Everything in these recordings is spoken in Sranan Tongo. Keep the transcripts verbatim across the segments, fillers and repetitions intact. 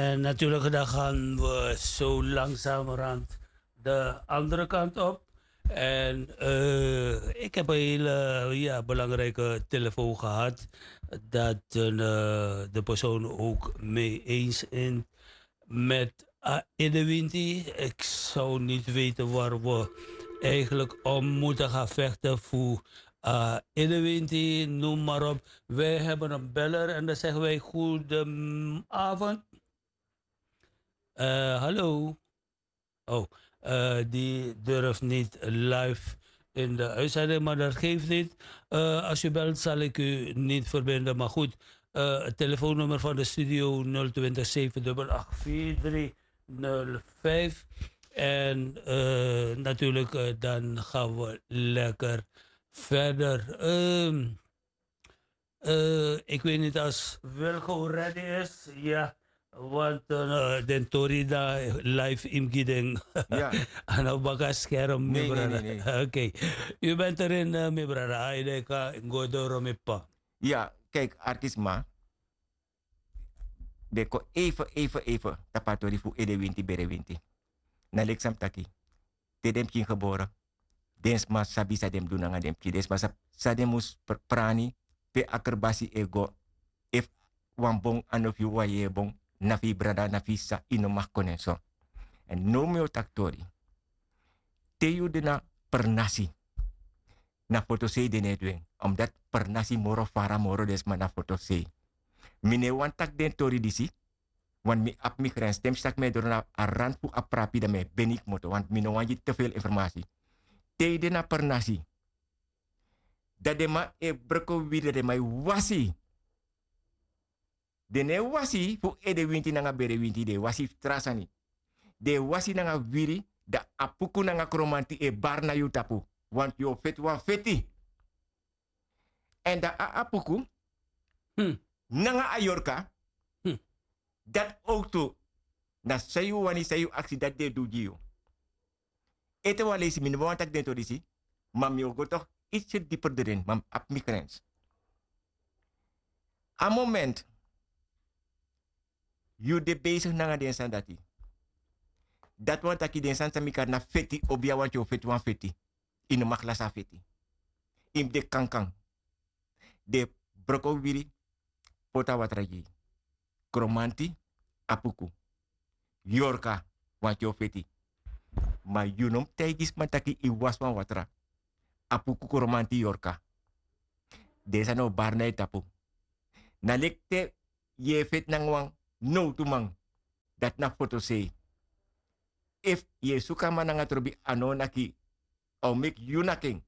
En natuurlijk, dan gaan we zo langzamerhand de andere kant op. En eh, ik heb een hele, ja, belangrijke telefoon gehad. Dat eh, de persoon ook mee eens is met uh, Edewinti. Ik zou niet weten waar we eigenlijk om moeten gaan vechten voor uh, Edewinti, noem maar op. Wij hebben een beller en dan zeggen wij: "Goedenavond." Eh, hallo. Oh, eh, die durft niet live in de uitzending, maar dat geeft niet. Eh, als u belt, zal ik u niet verbinden. Maar goed, eh, het telefoonnummer van de studio: nul twintig zeven dubbel acht vier drie nul vijf. En eh, natuurlijk, eh, dan gaan we lekker verder. Ehm, eh, ik weet niet als Wilco ready is. Ja, want eh, den tori na live im gi den. Ya. Ano baka scherm, mi Nee, nee, brada. nee, nee. Oké. U bent erin, eh, mi brada. Ai, de ka go doro, mi pa. Ya, kijk, artisma. Den kon even, even, even tapu a tori fu Edewinti, Berewinti. Na leki san mi taki. Te den pikin gebore, den sma sabi san den mus du nanga den pikin. Den sma sabi san den mus pr- prani, pe a kerbasi e go. Efu wan bon, a no fu yu, wan yeye bon, na fu yu brada, na fu yu sisa, yu no mag kon en so. Èn now mi o taki tori. Te yu de na pernasi, na fotosei den no e du en. Omdat pernasi moro fara, moro den sma na fotosei. Mi no e wani taki den tori disi, want mi abi mi grens. Te mi si tak' mi e doro na a rand fu a prapi, dan mi e beni kmoto, want mi no wani gi te veel informasi. Te yu de na pernasi, dan den man e broko wiri, dan den man e wasi. Den no e wasi fu Edewinti nanga Berewinti, den e wasi fu tra sani. Den e wasi nanga wiri, dan Apuku nanga Kromanti e bari na yu tapu. Want yu o feti wan feti. Èn dan a Apuku, Hmm. nanga a Yorka, Hmm. dati owktu, na san yu wani, san yu aksi, dati den e du gi yu. Ete wan leisi, mi no wani taki den tori disi, ma mi o go toch ietsje dieper erin, ma mi abi mi grens. A moment yu de bezig nanga den sani dati, dati wani taki den sani san mi kari na feti, obia, want yu o feti wan feti. Yu no mag lasi a feti. Yu mus de kankan. Den broko wiri, poti a watra gi yu. Kromanti, Apuku, Yorka, want yu o feti. Ma yu no mus taigi sma taki yu wasi wan watra. Apuku, Kromanti, Yorka, den sani o bari na yu tapu. Na leki te yu e feti nanga wan nowtuman, dati na fotosei. Efu yu e suku a man nanga trobi, a no o naki, a o meki yu naki en.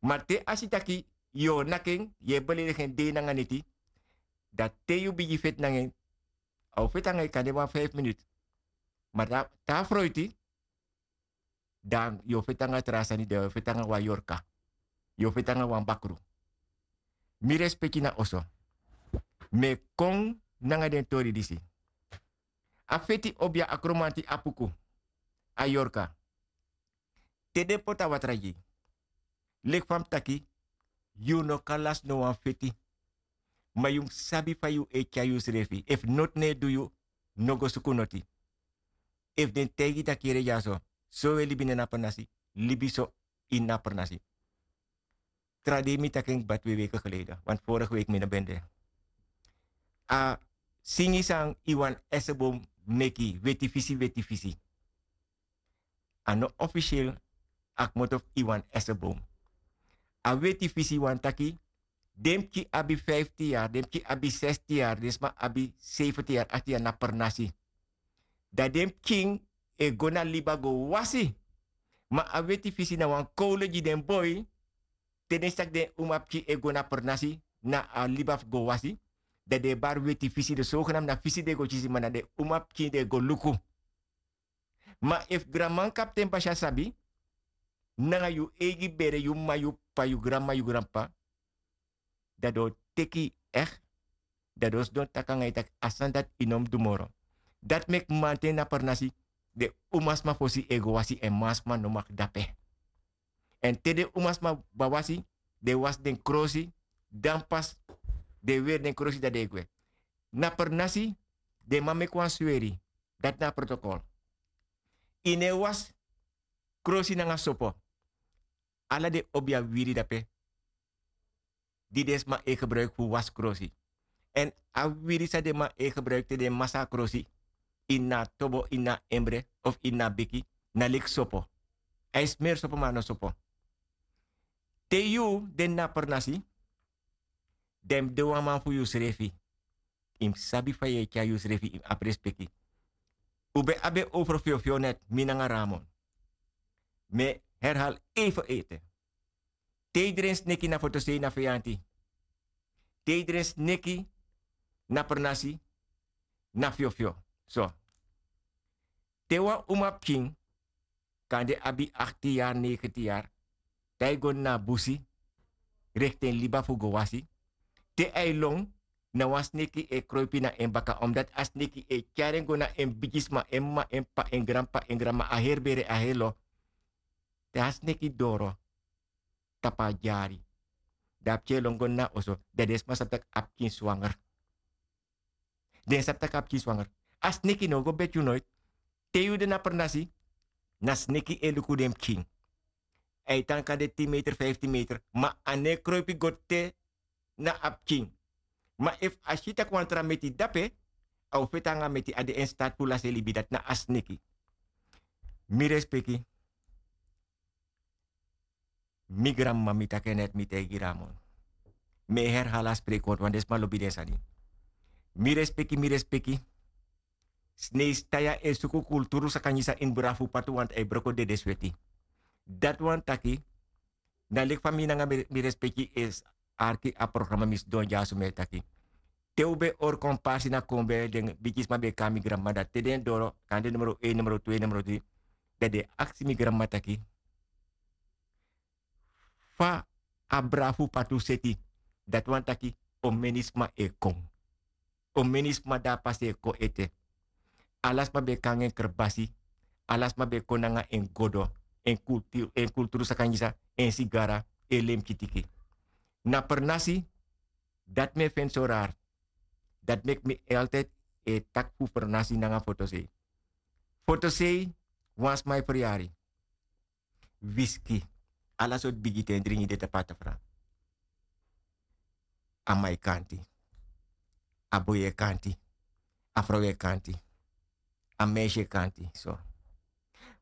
Ma te a si taki yu o naki en, yu e beledigi en dei nanga neti, dan te yu bigin feti nanga en, a o feti nanga yu kande wan feifi miniti. Ma te a, te a froiti, dan yu o feti nanga tra sani, dan yu o feti nanga wan Yorka, yu o feti nanga wan bakru. Mi respeki na oso. Mi e kon nanga den tori disi. A feti, obia, a Kromanti, Apuku, a Yorka, te den poti a watra gi yu, leki fa mi taki, yu no kan lasi no wan feti. Ma yu mus sabi fa yu e tyari yusrefi. Efu noti no e du yu, no go suku noti. Efu den taigi yu taki yere dyaso, so wi e libi na ini a pernasi, libi so ini a pernasi. Tra dei mi taki en kba, twee weken geleden, want vorige week mi no ben de. A singi san Iwan Esebom meki, Weti Fisi, Weti Fisi. A no officieel a kmoto fu Iwan Esebom. A Weti Fisi wani taki den pikin abi fiftin yari, den pikin abi sestin yari, den sma abi sefentin yari, achtin yari na pernasi. Dan den pikin e go na liba go wasi. Ma a Weti Fisi na wan kowlu gi den boi. Te den si taki den umapikin e go na pernasi, na a liba fu go wasi, dan den e bari Weti Fisi. Den sogenam na fisi den go kisi, ma na den umapikin den e go luku. Ma efu granman, kapten basi, a sabi, nanga yu eigi bere, yu m'ma, yu p'pa, yu granma, yu granp'pa, dan den o teki yu echt, dan den o sidon taki nanga yu taki a sani dati yu no mus du moro. Dati meki manten na pernasi, den umasma fosi e go wasi, èn mansma no mag de ape. Èn te den umasma wani wasi, den wasi den krosi, dan pas den weri den krosi, dan den e gwe. Na pernasi, Den man meki wan sweri. Dati na a protokol. Yu no e wasi krosi nanga sopo. Ala den obi a wiri dape, di den sma e gebruiki fu wasi krosi. Èn a wiri san den man e gebruiki te den masa a krosi, ini a tobo, ini a embre of ini a beki, na leki sopo. A e smeri sopo, ma a no sopo. Te yu de na pernasi, dan yu mus de wan man fu yusrefi. Yu mus sabi fa yu e tyari yusrefi, yu mus abi respeki. Un ben abi en over fyofyo net, mi nanga Ramon. Mi e herhali even ete. Te yu dren sneki na fotosei, na feyanti. Te yu dren sneki na pernasi, na fyofyo. So, te wan umapikin kande abi achttien yari, negentien yari, dan yu go na busi, rekti en liba fu go wasi. Te a e lon, na wan sneki e kroipi na en baka, omdati a sneki e tyari en go na en bigisma, en m'ma, en p'pa, en granp'pa, en granm'ma, a heri bere, a heri lo. Te a sneki doro tapu a dyari, dan a pikin e lon go na oso, dan den sma sabi tak' a pikin swanger. Den sabi tak' a pikin swanger. A sneki no o go beti yu noiti. Te yu de na pernasi, na sneki e luku den pikin. A e tan kande tin meter, fiftin meter, ma a no e kroipi go te na a pikin. Ma efu a si tak' wan tra meti dape, a o feti nanga meti, a de en stati fu lasi en libi, dati na a sneki. Mi respeki. Mi granmama, mi taki en net, mi taigi Ramon. Mi e herhali a spreekwoord, want den sma lobi den sani. Mi respeki, mi respeki. Sneisi tan ya e suku kulturu sakangi san ini brafu patu, want a e broko dede sweti. Dati wani taki, na leki fa mi nanga mi, mi respeki e arki a programa, mi sidon dyaso, mi e taki. Te un ben hori kon parsi na Kombe, den bigisma ben e kon na mi granmama, dati te den doro, kande numero één, numero twee, numero drie, dan den e aksi mi granmama taki, fa a brafu patu seti, dati wani taki, omeni sma e kon. Omeni sma de a pasi e kon ete. Ala sma ben e kon nanga en krebasi, ala sma ben e kon nanga en godo, en kultu-, en kulturu sakangi san, en sigara, en lemki tiki. Na pernasi, dati mi e feni so rari. Dati meki mi altijd e taki fu pernasi nanga fotosei. Fotosei, wan sma e feryari. Wiski, ala sortu bigi ten dringi de tapu a tafra. A man e kanti, a boi e kanti, a frow e kanti, a meisje e kanti, so.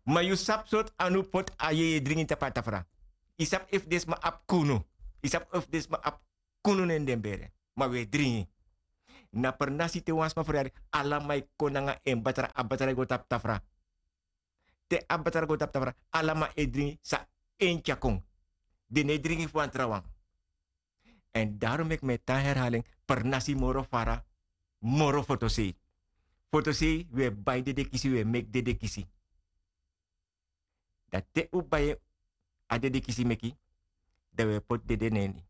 Ma yu sabi sortu anu poti a yeye dringi tapu a tafra? Yu sabi efu den sma abi kunu? Yu sabi efu den sma abi kunu na ini den bere? Ma wi e dringi. Na pernasi te wan sma feryari, ala man e kon nanga en batra, a batra e go tapu tafra. Te a batra go tapu tafra, ala man e dringi san en tyari kon. Den no e dringi fu wan trawan. Èn daarom meki mi e tan herhali en, pernasi moro fara moro fotosei. Fotosei, wi e bai dede kisi, wi e meki dede kisi. Dan te un bai a dede kisi meki, dan wi e poti dede na ini.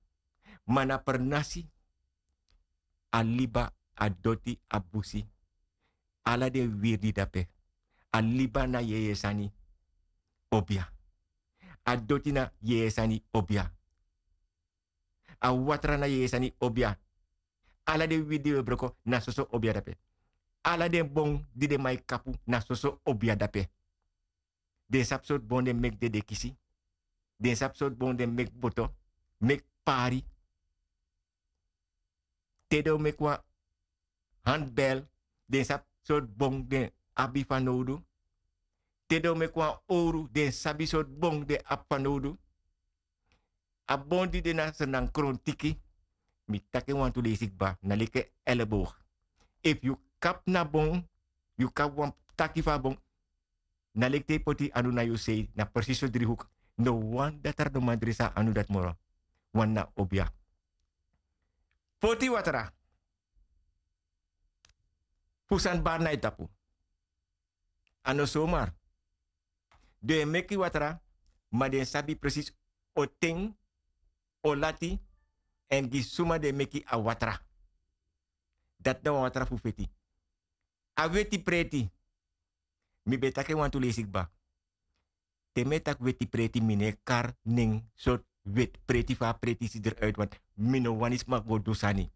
Ma na pernasi, a liba, a doti, a busi, ala den wiri di de dape. A liba na yeye sani, obia. A doti na yeye sani, obia. A watra na yeye sani, obia. Ala den wiri di wi e broko, na soso obia dape. Ala den bon di den man e kapu, na soso obia dape. Den sabi sortu bon den meki dede kisi. Den sabi sortu bon den meki boto, meki pari. Te den o meki wan handbel, den sabi sortu bon den abi fanowdu. Te den o meki wan owru, den sabi sortu bon den abi fanowdu. A bon di de na Sranan krontiki, mi taki en wantu leisi kba, na leki en elleboog. Efu yu kapu na bon, yu kapu wan taki fu a bon, na leki te yu poti yu anu na yu sei, na precies so dri hoek. No wan datra no man dresi a anu dati moro. Wan na obia. Poti watra fu sani bari na yu tapu. A no somar. Den e meki watra, ma den sabi precies o ten, o lati, èn gi suma den meki a watra. Dati na wan watra fu feti. A weti preti. Mi ben taki en wantu leisi kba. Te mi e taki weti preti, mi no e kari nen sortu weti preti fa a preti si dri uit, want mi no wani sma go du sani.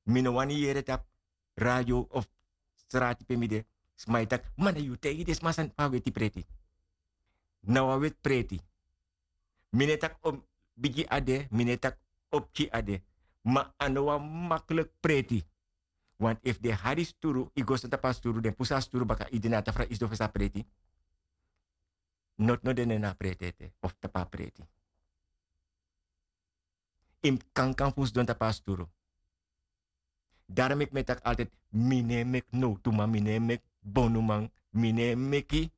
Mi no wani yere tapu radio of srati pe mi de. Sma e taki, ma na yu taigi den sma sani pe a weti preti. Na wan weti preti. Mi no e taki o bigi a de, mi no e taki o pikin a de. Ma a no wan makliki preti. Want efu den hari sturu, yu go sidon tapu a sturu, den pusu a sturu baka, yu de na a tafra, yu sidon fesi a preti. Noti no de na a preti ete of tapu a preti. Yu mus kankan fu sidon tapu a sturu. Daro meki mi e taki altid, mi no e meki nowtuman, mi no e meki bonuman, mi no e meki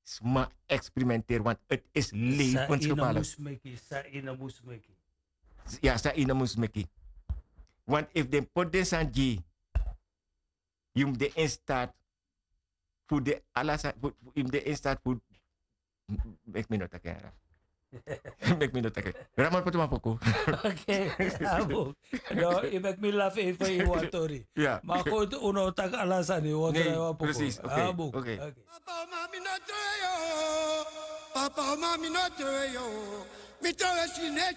sma eksperimenteri, want het is levensgevaarlijk. San yu no mus meki, san yu no mus meki. Ya, san yu no mus meki. Want efu den poti den sani gi yu, yu mus de in staat fu de ala sani, yu mus de in staat fu, meki mi no taki en. Meki mi no taki en. Ramon, poti wan poku. Oké, abu. No, yu meki mi lafu even fu yu wan tori. Ya. Ma goed, un no taki ala sani, wan tori, wan poku. Precies, oké. Abu. Oké. Papa, mami no trowe yu. Papa, mami no trowe yu. Mi trowe si ne